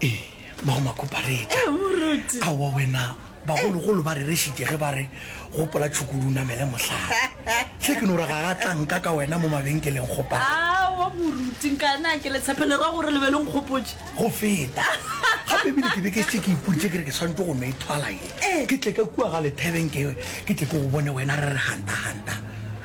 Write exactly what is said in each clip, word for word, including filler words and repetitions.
Ee, mmago Makhuparetša. Ee, moruti. Aowa wena, bagologolo ba rerešitše ge ba re, Gopola tšhukudu o namele mohlare. Hle ke no re ga ga tla nka ka wena mo mabenkeleng kgopana. Aowa moruti, nkane a ke le tshepe, le ra gore le be le nkgopotše? Go feta. Gape ebile ke be ke šetše ke ipoditše ke re ke swanetše go no ithwala ye. Ke tle ka kua ga lethebeng ke ke tle ke go bone wena re re hanta-hanta.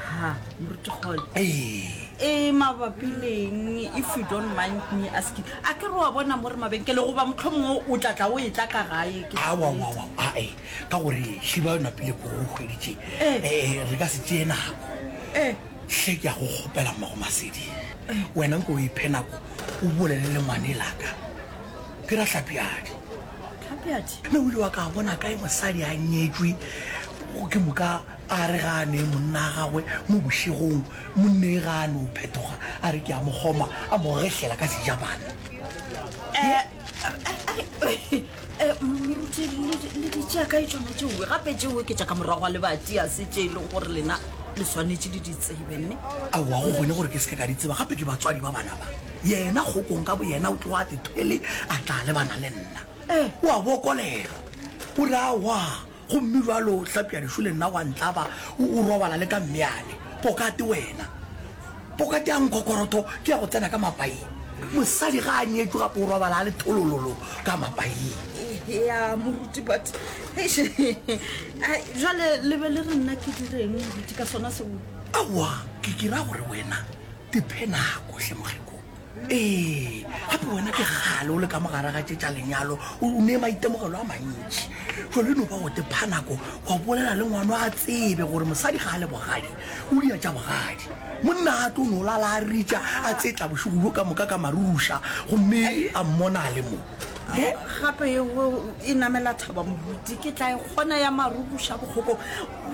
Ha, moruti Kgole. Ee. E mabapi leng, if you don't mind me asking? A ke re wa bona mo re mabenkele goba mohlomongwe o tla tla o etla ka gae ke. Aowa, aowa, aowa, ae, ka gore šiba o napile ke go hweditše. Eh. Eh, re ka se tšee nako. Eh. Hle ke a go kgopela Mmago Masedi, wena nko o iphe nako o bolele le ngwanelaka. Ke ra Hlapyadi. Hlapyadi? Na o ile wa ka bona kae mosadi a nyetšwe ke moka a re ga a nee monna wa gagwe mo bošegong, monna ga a no phetoga a re ke a mo kgoma, a mo gehlela ka sejabana? Eh, eh, moruti, le di tšea kae tšona tšeoe? Gape tšeoe ke tša ka morago ga lebati, a se tše e leng gore lena le swanetše le di tsebe, nne? Aowa, go kgone gore ke se ke ka di tseba, gape ke batswadi ba bana ba. Yena Kgokong ka boyena o tloga a tethwele a tla lebana le nna. O a bokolelwa, o re aowa. Gomme bjalo Hlapyadišo le nna wa ntlaba, o, o robala le ka mmeane. Pokate wena. Pokate ya nkhokhorotho ke ya go tsena ka mapaing. Mosadi ga a nyetšwe gape o robala a le tholololo ka mapaing. Ya, moruti, but eish, ai, bjale le be le re nna ke direng, moruti, ka sona seo? Aowa, ke, ke ra gore wena te phe nako hle, mokgekolo. Ee, gape wena ke kgale o le ka mo gare ga tše tša lenyalo, o ne maitemogelo a mantši. Jwale e no ba go te pha nako wa bolela le ngwano a tsebe gore mosadi ga a le bogadi, o dia tša bogadi. Monna a tlo no lala a ritša a tsetla bošego bjo ka moka ka maruruša gomme a mmona a le mo. He, gape yeo e namela thaba moruti, ke tla e kgona ya maruruša bokgokong.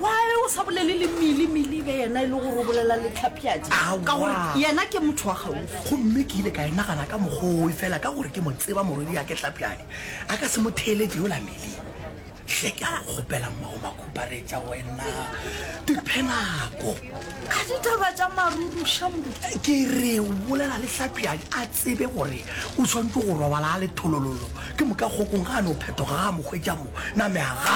Why o sa bolele le Mili? Mili e be yena e le gore o bolela le Tlhapjadi, ka gore yena ke motho wa kgauswi. Gomme ke ile ka e nagana ka mokgwa wo, efela ka gore ke mo tseba morwediake Tlhapjadi, a ka se mo theeletše yola Mili. Hle ke a go kgopela Mmago Makhuparetša wena, diphe nako. Ka ditaba tša maruruša moruti. Ke re o bolela le Hlapjadi a tsebe gore o swanetše go robala a le tholololo, ke moka Kgokong ga a no phetoga ga a mo hwetša mo, name a ga.